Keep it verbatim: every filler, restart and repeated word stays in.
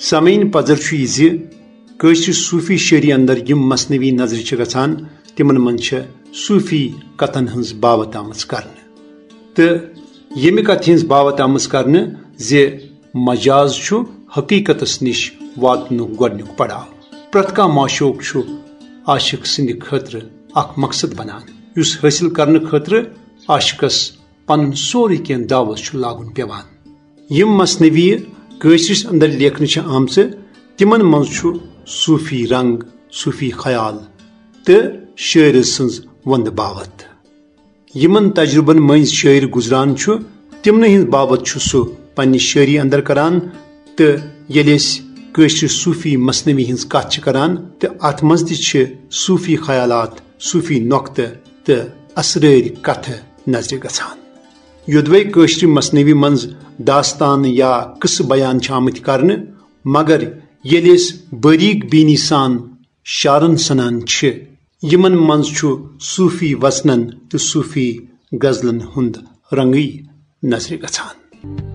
سامعین، پزر چھُ یہِ زِ کٲشرِ صوٗفی شٲعری اندر یِم مثنوی نظرِ چھِ گژھان، تِمن منٛز چھےٚ صوٗفی کتھن ہٕنٛز باوتھ آمٕژ کرنہٕ۔ تہٕ ییٚمہِ کتھِ ہٕنٛز باوتھ آمٕژ کرنہٕ زِ مجاز چھُ حقیقتس نِش واتنُک گۄڈنیُک پڑاو۔ پرٛٮ۪تھ کانٛہہ معشوق چھُ عاشق سٕنٛدِ خٲطرٕ اکھ مقصد بنان، یُس حٲصِل کرنہٕ خٲطرٕ عاشقس پنُن سورُے کینٛہہ داوس چھُ لاگُن پٮ۪وان۔ یِم مثنوی کٲشرِس اندر لیکھنہٕ چھِ آمژٕ، تِمن منٛز چھُ صوٗفی رنگ، صوٗفی خیال تہٕ شٲعرٕ سٕنٛز وندٕ باوتھ۔ یِمن تجربن مٔنٛزۍ شٲعر گُزران چھُ، تِمنٕے ہٕنٛز باوتھ چھُ سُہ پننہِ شٲعری اندر کران۔ تہٕ ییٚلہِ أسۍ کٲشرِ صوٗفی مثنوی ہٕنٛز کتھ چھِ کران، تہٕ اتھ منٛز تہِ چھِ صوٗفی خیالات، صوٗفی نۄقطہٕ تہٕ اسرٲرۍ کتھٕ نظرِ گژھان۔ یوٚدوے کٲشرِ مثنوی منٛز داستان یا قصہٕ بیان چھِ آمٕتۍ کرنہٕ، مگر ییٚلہِ أسۍ باریک بینی سان شعرن سنان چھِ، یِمن منٛز چھُ صوٗفی وژنن تہٕ صوٗفی غزلن ہُنٛد رنگٕے نظرِ گژھان۔